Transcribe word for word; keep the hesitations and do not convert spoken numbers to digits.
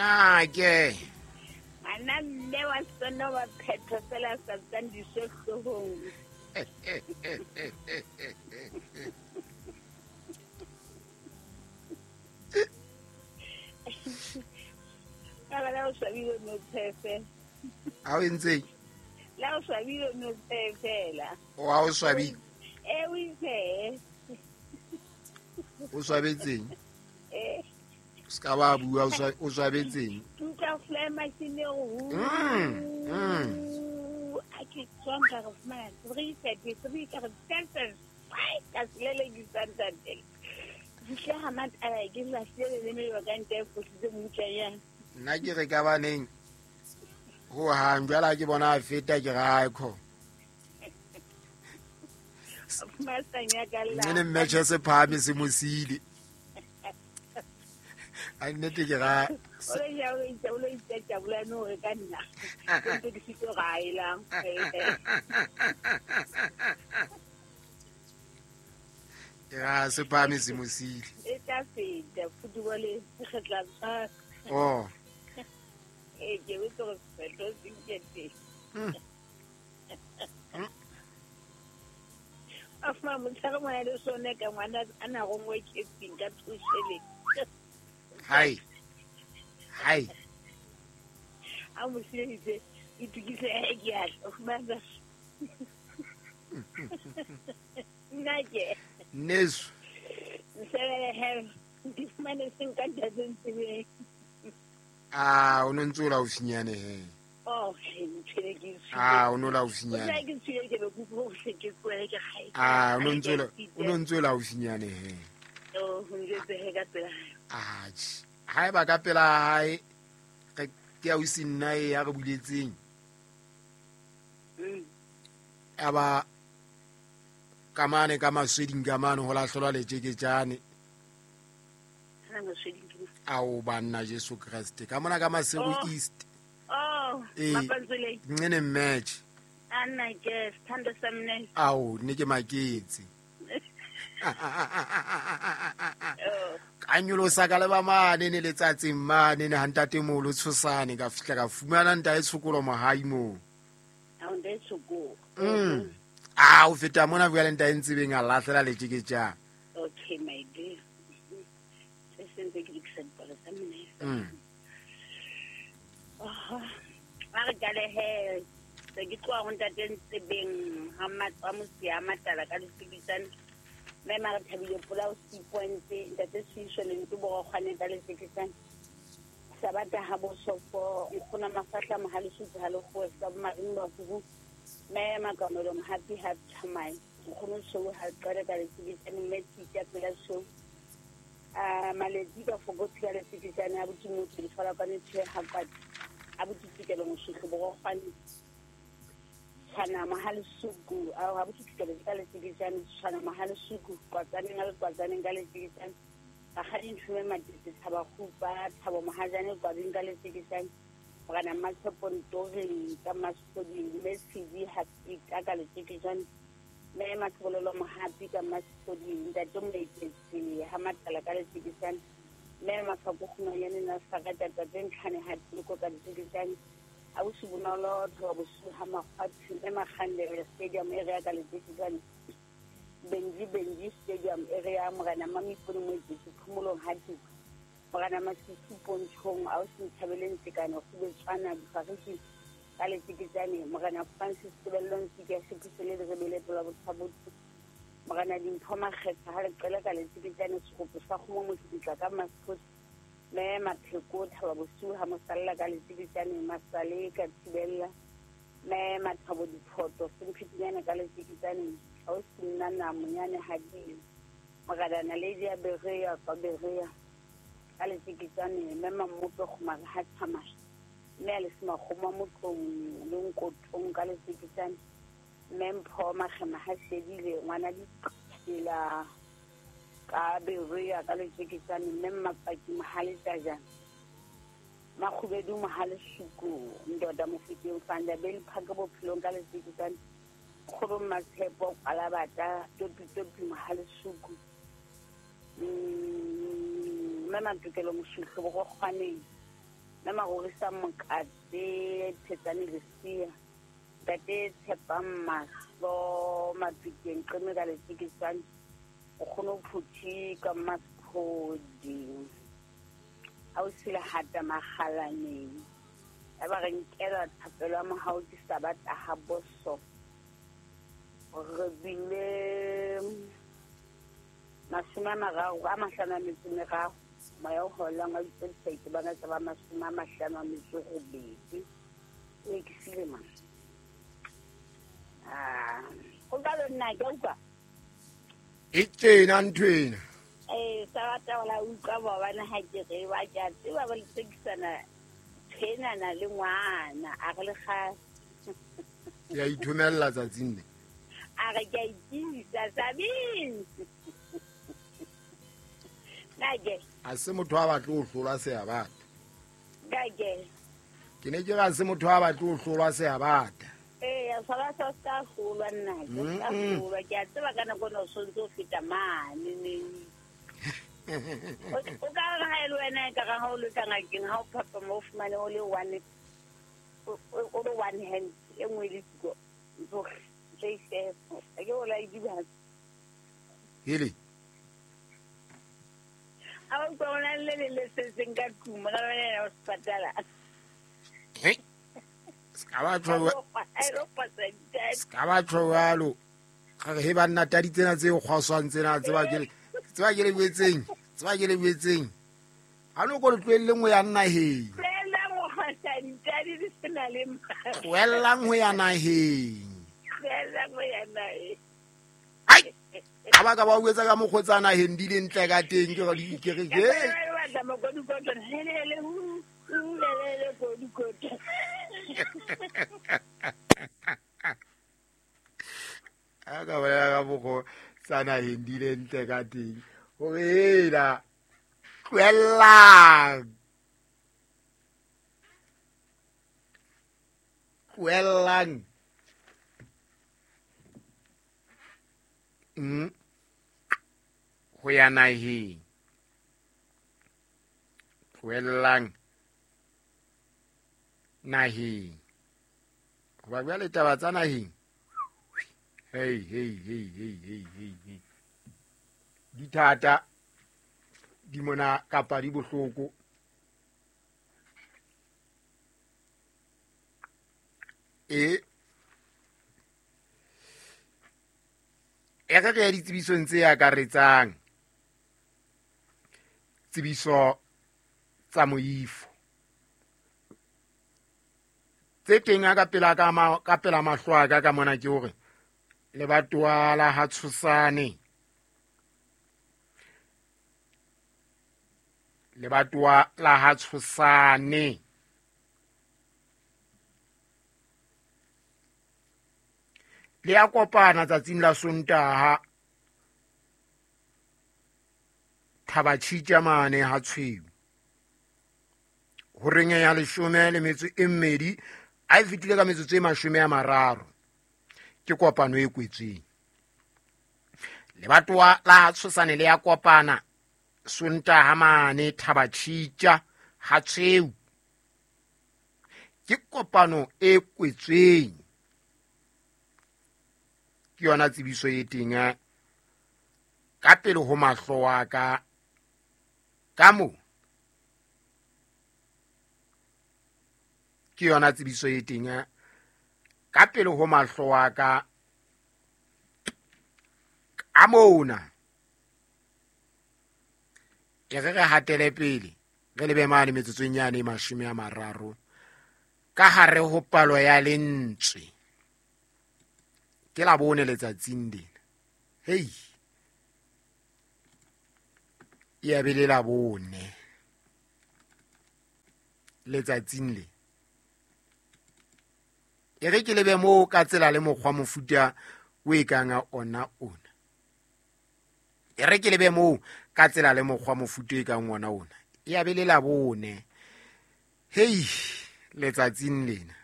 Nna ke Ana mme wa sona wa phetho fela sa tsang disohlong. Ka la o swabile no phefe. Ha o entse? La o swabile no phefela. O ha o swabile? Eh o itse. O swabetseng? Eh. Ska ba bua o swabetseng. Ke fly machine o. Mm. Mm. A ke tswang ka re fumana three thirty three ka re seven five ka selele ke santate. Ke ha matala ke la selele le me ba ka nte fositse mmutlanyana. Nna ke re ka baneng ho hang jwala ke bona a feta ke ra kho. Masanya ka la. Nne mme tjhe se phahame se mosile. A nnete ke ra o le ya o itse o le itse tjabula no re ka nna. Ke ke sitse ra ela. Ke ra se phahame se mosile. E tla feta football e kgetla tsa. Oh. E ke o tlo fetlo sinkete. Afa motshare mona le sone ka ngwana ana go ngwe ke tsing ka thushele. Hai. Hai. A mo sietse itukise e ke a fumana. Nna ke. Neso. Nsele he di fumane seng ka ntate ntsebe. Ah, o no ntse o la o finyane he. Oh, ke ke. Ah, o no la o finyane. Ke tswile ke be go se ke tswele ke gae. Ah, o no ntse o no ntse o la o finyane he. Oh, ho ntse he ka pela. Ah, ha eba ka pela hae re ke a o sinna e ya re buletseng. Mm. Aba kamane ka masweding kamane ho lahlolwa letjeketjane. Ana masweding ke. Ao banna Jesu Kreste ka mona ka Maseru East. Oh, mapantsule. Nene match. Ana ke sithando sa mne. Ao ne ke maketse. Ka nyolosa ka leba mane ne letsatsing mane ne hantate molo tshosane ka fihla ka fumana nta e tshokolo mohai mo. Ao nde tshokolo. Mm. Ah, o feta mona bua le nta e ntsebeng a lahlela letjeketjane. Okay, my dear. Se sentse ke dikisa dipalo tsa mne. Mm. Oh, a re kale he se ke tloha ho ntate ntsebeng ha matsa mosia matala ka ditsikitsane. Mme mara thabile pola o six point ntate Sisho le ntse bo kgwane ka letsekisane. Sabata ha bo sofo nkgona mafahla mohale sutse ha le go sa mareng ba go mme makamelo happy happy thamai nkgono so ha qale ka letsekisane mme titja pela so a maletsi ka fogotsi ka letsekisane a botimo tse fala ka ntshe ha kwati a botitsikelo mosutlho bo kgwane tshwana mahale suku a ha botitsikelo ka letsekisane tshwana mahale suku kwatsaneng a kwatsaneng ka letsekisane ba ga dinthume matete tshaba khupa thabo mohajane kwabeng ka letsekisane morena Matshepo Ntoreng ka Masodi mme Tshidi Happy ka ka letsekisane mme Mathololo Mohapi ka Masodi ntate Moeketsi ha matala ka letsekisane mme Mafako Kgomanyane na sakata tate Ntlhane ha tiko ka letsekisane a bosi bonolo thoba bosu ha makgwathi mme Makgandele Stadium area ka letsekisane Benji Benji Stadium area morena Mamipone Moeketsi phomolong ha tiko morena Masisi Pontshong a o se nthabeleng tsekane go betswana difariki ka letsekisane morena Francis Tebellong Tsika Sepusele le rebele tola bothabotse morena Dimpho Makgetha ha le qele ka letsekisane segopo sa kgomo motlitla ka Masiphosi mme Mapheko thaba bosiu ha mosalla ka letsekisane Masale ka Thibella mme Mathabo Diphoto Semphetinyane ka letsekisane a o se nna na monyane ha di morena Naledi ya Berea ka Berea ka letsekisane mme Mammope Kgomare ha tsamaya mme a le semakgomo motlong le nkotong ka letsekisane mme Mpho Makgema ha shedile ngwana ditsela ka Berea ka letsekisane mme Mapaki Mohale Tajana Makhubedu Mohale Suku ndoda Mofokeng Fanda Bell Park bophelong ka letsekisane kgolo Matshepo Kalabata topi topi Mohale Suku mm mme Matokelo Mosutlho bo go kgwaneng Mme Marorisa Mokate Thetsane Lesia Ntate Tshepang Mahlo Mapikeng Qeme ka Letsikisane o kgone ho phuthi ka Mmasphodi ha o sile hata makgalaneng ya ba re nkela thapelo ya mohau ke Sabata ha boso re bile mashome a mararo a mahlano a metso e meraro moya o holang a ditse bana tsa ba mashome a mahlano a metso e robedi e ke sile mang ah o ka nna ke utlwa e tjena nthwena eh Sabata wala utlwa ba bana ha ke re ba ke a tseba ba letsekisana thenana le ngwana a re le kgale ya ithomella tsatsing le a re ke a itisa Sabine nage a se motho a batle ho hlolwa se a bata nage ke ne ke ra se motho a batle ho hlolwa se a bata eh ya sala sa ska hlolwa nna ke ska hlolwa ke a tseba ka nako no sontse o feta mane ne o ka re ha ele wena e ka re ha o le ka ngakeng ha o phapa mo fumane o le one o le one hand e nngwe le siko ntso tse se ke o la di ba hele a o tsona le le le se seng ka tlung ga wena o sepatala he ska ba tlo ska ba tlo jwalo ga re he banna tadi tsena tse kgwaswang tsena tseba ke tseba ke le buetseng tseba ke le buetseng ha no go le tlohelleng ho ya naheng tlohellang ho ya naheng ai ha ba ka ba buetsa ka mokgotsa naheng di le ntle ka teng ke re ke re ke a ka ba ka mokgotsa naheng di le ntle ka teng hore hela tlohellang tlohellang mm ho ya naheng tlohellang naheng hoba jwale taba tsa naheng hey hey hey hey hey hey hey di thata di mona kapa di bohloko e e re re ditsebisong tse akaretsang tsebiso tsa moifo tse teng ka pela ka ka pela mahlo a ka ka mona ke hore lebatowa la ha Tshosane lebatowa la ha Tshosane le ya kopana tsatsing la Sontaha Thabatshitja mane ha Tshweu horeng ya leshome le metso e mmedi a e fetile ka metsotso e mashome a mararo ke kopano e kwetsweng lebatowa la Tshosane le ya kopana Sontaha mane Thabatshitja ha Tshweu ke kopano e kwetsweng ke yona tsebiso e teng ka pele ho mahlo wa ka ka mo ke yona tsebiso e teng ka pele ho mahlo wa ka ka mona e re re hatele pele re lebe mane metsotsong yane e mashome a mararo ka hare ho palo ya lentswe ke la bone letsatsing lena hei e a be le la bone letsatsing le e re ke lebe moo ka tsela le mokgwa mofuta o e kang ona ona e re ke lebe moo ka tsela le mokgwa mofuta e kang ona ona e a be le la bone hei letsatsing lena